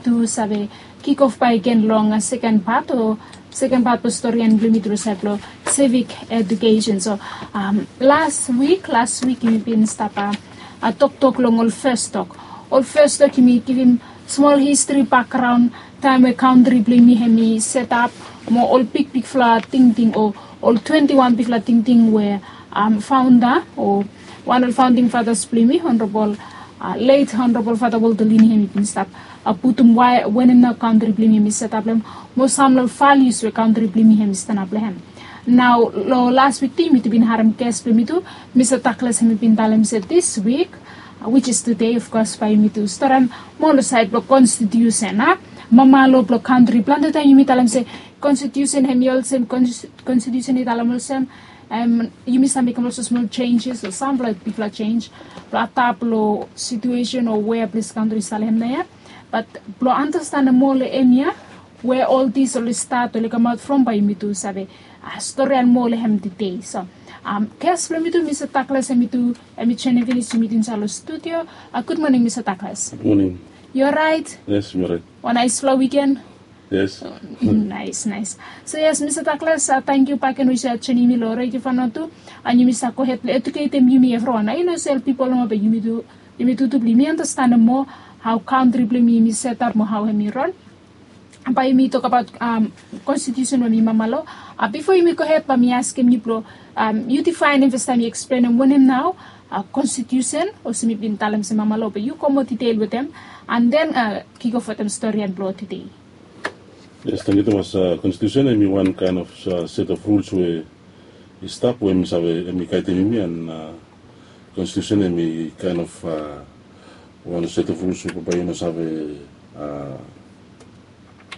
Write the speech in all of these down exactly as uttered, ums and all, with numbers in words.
tu save kikof bakegen long seken pat o seken pat blong storian blong yumi tu long sait blong civic education. So las wik, las wik yumi bin stap toktok long ol fes tok. Ol fes tok yumi givim smol histri bakgraon taem we kantri blong yumi hem i setap, mo ol bigbigfala tingting o ol twenti wan bigfala tingting we faunda o wan ol faunding fatas blong yumi, Honorabol, let Honorabol Fata Walter Lini hem i bin stap putum wae wanem nao kantri blong yumi hem i setap long hem, mo sam long ol valius we kantri blong yumi hem i stanap long hem. Nao long las wik tu yumi tu bin harem ges blong yumi tu, Mista Douglas hem i bin talem se dis wik, which is today of course, bae yumi tu storian moa long sait blong konstitiusen a, mama lo blong kantri. Plante taem yumi talem se konstitiusen hem i olsem konstitiusen i talem olsem, yumi save mekem olsem smol senjes o samfala bigfala senj blong adap long situesen o wea ples kantri i stap long hem naoia. Bat blong andastanem moa long hemia we ol dis oli stat oli kamaot from, bae yumi tu save storian moa long hem tede. So ges blong yumi tu, Mista Douglas hem i tu hem i joenem finis yumi tu insaed long studio. Gud moning Mista Douglas. Moning. Yu oraet? Yes, mi oraet. Wan naesfala wiken. Yes. Naes, naes. So yes, Mista Douglas, tangkiu bakegen we yu save joenem yumi long redio Vanuatu, and yumi save gohed blong eduketem yumi evriwan. Ae yu no save ol pipol nomo, be yumi tu, yumi tutu blong yumi andastanem moa hao kantri blong yumi hem i setap mo hao hem i ran. Bae yumi tokbaot konstitiusen we hem i mama lo. Bifo yumi gohed, bae mi askem yu blong yu difaenem fastaem, yu eksplenem wanem nao konstitiusen, olsem mi bin talem se mama lo, be yu go moa detail wetem and then kikof wetem storian blong tede. Yes, tangkiu tumas. Konstitiusen hem i wan kaen of set of rules we i stap we hem i save, hem i gaedem yumi, and konstitiusen hem i kaen of wan set of rules we bambae yu no save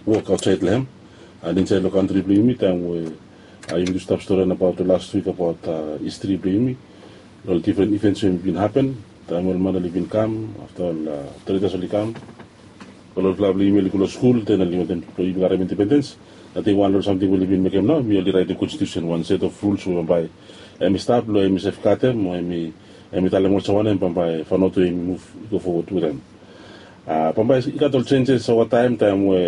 wok aotsaed long hem. And insaed long kantri blong yumi, taem we yumi tu stap storian abaot long las wik abaot histri blong yumi, long ol difren ivens we hem i bin hapen taem we ol man oli bin kam, afta ol tretas oli kam, ol olfala blong yumi oli go long skul, den oli wantem blong yumi karem indipendens. Ating wan long ol samting we oli bin mekem nao, yumi oli raetem konstitiusen, wan set of rules we bambae hem i stap long hem i sefgadem, mo hem i talem olsem wanem bambae Vanuatu hem i muv i go fowod wetem. Bambae i gat ol senjes ova taem, taem we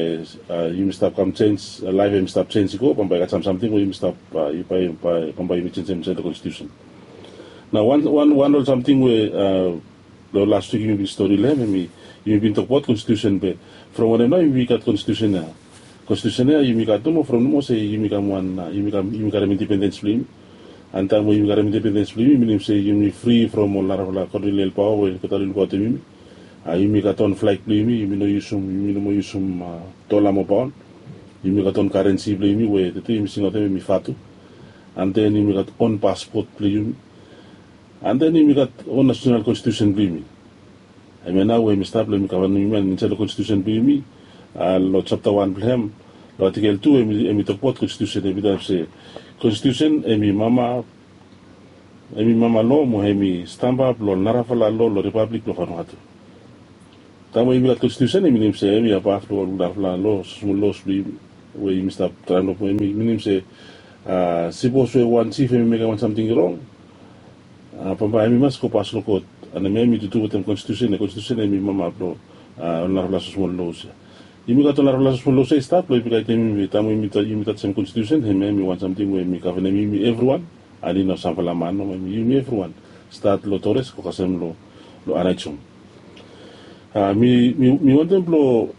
yumi stap kam senj, laef hem i stap senj i go, bambae i gat sam samting we yumi stap, bambae yumi senjem insaed long konstitiusen. Nao wan, wan, wan ol samting we long las wik yumi bin stori long hem, hem i, yumi bin tokbaot konstitiusen, be from wanem nao yumi gat konstitiusen ia? Konstitiusen ia yumi gat nomo from nomo se yumi kam wan, yumi kam, yumi karem indipendens blong yumi. And taem we yumi karem indipendens blong yumi, minim se yumi fri from ol narafala kolonial paoa we olgeta oli lukaotem yumi. Yumi gat on flag blong yumi, yumi no yusum, yumi no moa yusum dola mo paon. Yumi gat on karensi blong yumi we tede yumi singaotem hem i vatu. And then yumi gat on paspot blong yumi. And then yumi gat on nasonal konstitiusen blong yumi. Hemia nao we hem i stap long hem i gavanem yumi, and insaed long konstitiusen blong yumi, long japta wan blong hem, long atikel tu, hem i tokbaot konstitiusen, hem i talem se konstitiusen hem i mama, hem i mama lo mo hem i stamba blong narafala lo long ripablik blong Vanuatu. Taem we yumi gat konstitiusen, i minim se hem i abaf long ol narafala lo, smol los blong yumi we yumi stap traem long, hem i minim se sipos we wan jif hem i mekem wan samting rong, bambae hem i mas go pas long kot. And hem i tutu wetem konstitiusen, konstitiusen hem i mama blong ol narafala smosmol los ia. Yumi gat ol narafala smosmol los ia i stap blong yumi gaedem yumi taem we yumi tajem konstitiusen, hemia hem i wan samting we hem i gavanem yumi evriwan. And i no samfala man nomo, hem i yumi evriwan, stat long Torres go kasem long Aneityum. Mi, mi wantem blong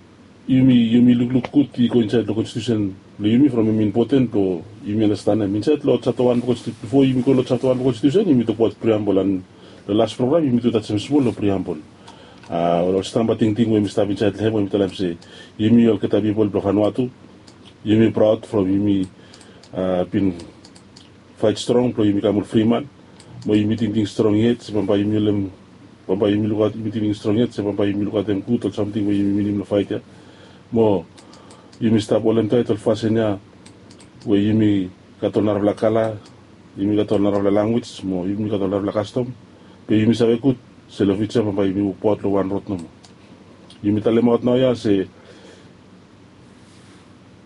yumi, yumi lukluk gud i go insaed long konstitiusen blong yumi from hem i impoten blong yumi andastanem. Insaed long japta wan blong konstitiusen, bifo yumi go long japta wan blong konstitiusen, yumi tokbaot priambol, and long las program yumi tu tajem smol long priambol. Ol stamba tingting we mi stap insaed long hem we mi talem se yumi olgeta pipol blong Vanuatu, yumi praod from yumi bin faet strong blong yumi kam ol fri man. Mo yumi tingting strong yet se bambae yumi olem, bambae yumi lukaot, yumi tingting strong yet se bambae yumi lukaotem gud ol samting we yumi winim long faet ia. Mo yumi stap olem taet ol fasin ia we yumi gat ol narafala kala, yumi gat ol narafala lanwis, mo yumi gat ol narafala kastom. Be yumi save gud se long fiuja bambae yumi wokbaot long wan rod nomo. Yumi talemaot naoia se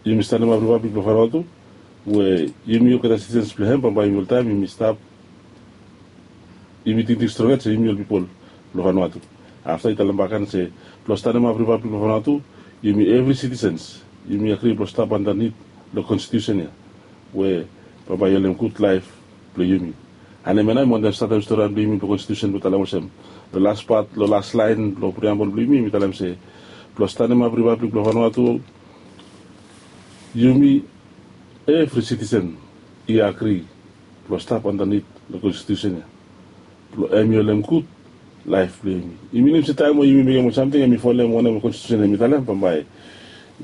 yumi stanemap ripablik blong Vanuatu, we yumi olgeta sitisens blong hem, bambae yumi oltaem yumi stap, yumi tingting strong yet se yumi ol pipol blong Vanuatu. Afta i talem bak gen se blong stanemap ripablik blong Vanuatu, Yumi evri sitisens yumi agri blong stap andanit long konstitusen ya, we bambae i holem gud laef blong yumi. An hemia nao mi wantem statem storian blong yumi blong konstitusen blong talem olsem, long las pat long las laen blong priambol blong yumi mi talem se, blong stanemap ripablik blong Vanuatu, yumi evri sitisen i agri blong stap andanit long konstitusen ya, blong hem i holem gud laef blong yumi. I minim se taem we yumi mekem ol samting hem i folem wanem konstitusen hem i talem, bambae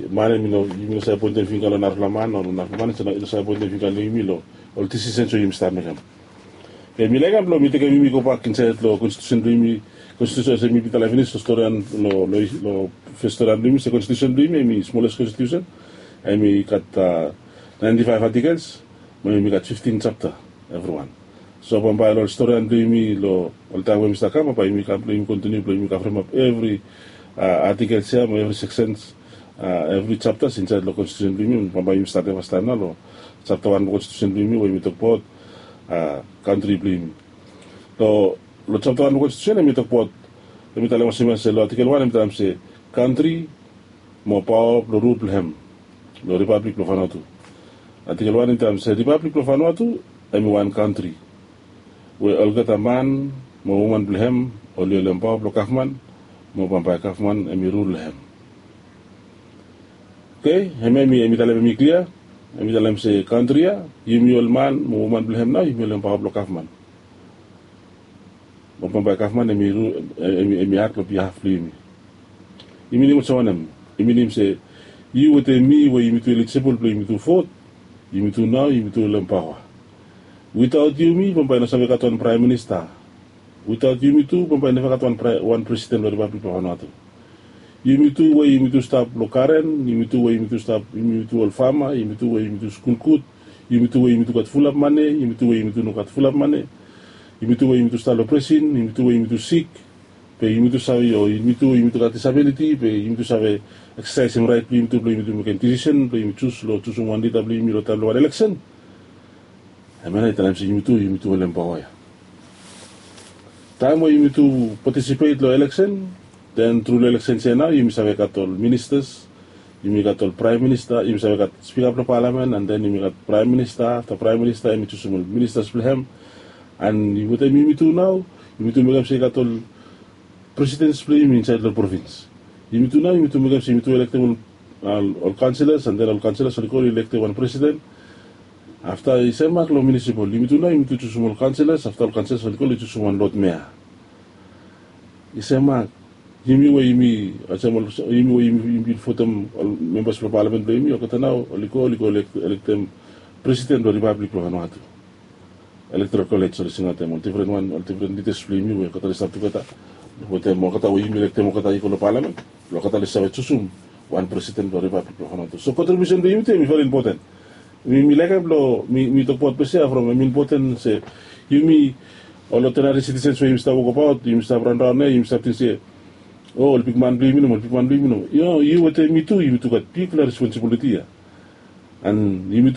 man hem i no, yumi no save poentem fingga long narafala man o long narafala man i no save poentem fingga long yumi long ol disisens we yumi stap mekem. Be mi laekem blong mi tekem yumi gobak insaed long konstitusen blong yumi. Konstitusen olsem mi bin talem finis long storian, long fes storian blong yumi se konstitusen blong yumi hem i smoles konstitusen. Hem i gat naenti faef atikels, mo hem i gat fiftin japta evriwan. So bambae long ol storian blong yumi long ol taem we mi stap kam, bambae yumi kam blong yumi kontiniu blong yumi kavremap evri atikels ya mo evri seksens, evri japtas insaed long konstitusen blong yumi. Bambae yumi statem fastaem nao long japta wan blong konstitusen blong yumi we yumi tokbaot kantri blong yumi. Long japta wan blong konstitusen hem i tokbaot, hem i talem olsem ya se long atikel wan hem i talem se, kantri mo paoa blong rul blong hem long ripablik blong Vanuatu. Atikel wan hem i talem se ripablik blong Vanuatu hem i wan kantri we olgeta man mo woman blong hem oli holem paoa blong gavman, mo bambae gavman hem i rul long hem. Oke, hemia hem i talem hem i klia. Hem i talem se kantri ya, yumi ol man mo woman blong hem nao yumi holem paoa blong gavman, mo bambae gavman hem i rul, hem i act long bihaf blong yumi. I minim olsem wanem? I minim se yu wetem mi we yumitu elijibol blong yumitu vot, yumitu nao yumitu holem paoa. Witaot yumi bambae i no save gat wan praem minista. Witaot yumitu bambae i neva gat wan presiden long ripablik blong Vanuatu. Yumitu we yumitu stap long garen, yumitu we yumitu stap, yumitu ol fama, yumitu we yumitu skul gud, yumitu we yumitu gat fulap mane, yumitu we yumitu no gat fulap mane, yumitu we yumitu stap long presin, yumitu we yumitu sik, be yumitu save, o yumitu we yumitu gat disabiliti be yumitu save eksesaesem raet blong yumitu blong yumitu mekem disisen blong yumi jus long jusum wan lida blong yumi long taem blong wan eleksen. Hemia nao i talem se yumitu, yumitu holem paoa ya. Taem we yumitu patisipet long eleksen, den tru long eleksen ya nao yumi save gat ol ministas, yumi gat ol praem minista, yumi save gat spika blong palamen, an den yumi gat praem minista. Afta praem minista hem i jusum ol ministas blong hem. An wetem yumitu nao yumitu mekem se i gat ol presidens blong yumi insaed long provins. Yumitu nao yumitu mekem se yumitu elektem ol kaonsilas, an den ol kaonsilas oli go oli elektem wan presiden. Afta i semak long munisipol, yumitu nao yumitu jusum ol kaonsilas, afta ol kaonsilas oli go oli jusum wan lod mea. I semak, yumi we yumi, olsem ol, yumi we yumi bin votem ol membas blong palamen blong yumi, olgeta nao oli go oli go elektem presiden blong ripablik blong Vanuatu. Elektoral kolej oli singaotem ol difren wan, ol difren lidas blong yumi we olgeta oli stap tugeta wetem olgeta we yumi elektem olgeta i go long palamen, blong olgeta oli save jusum wan presiden blong ripablik blong Vanuatu. So kontribiusen blong yumi tu hem i veri impoten. Mi laekem blong mi tokbaot ples ya from hem i impoten se yumi ol odinari sitisens we yumi stap wokbaot, yumi stap raonraon ya, yumi stap ting se, o ol bigman blong yumi nomo, ol bigman blong yumi nomo. Yu wetem mi tu yumitu gat bigfala responsibiliti ya. An yumitu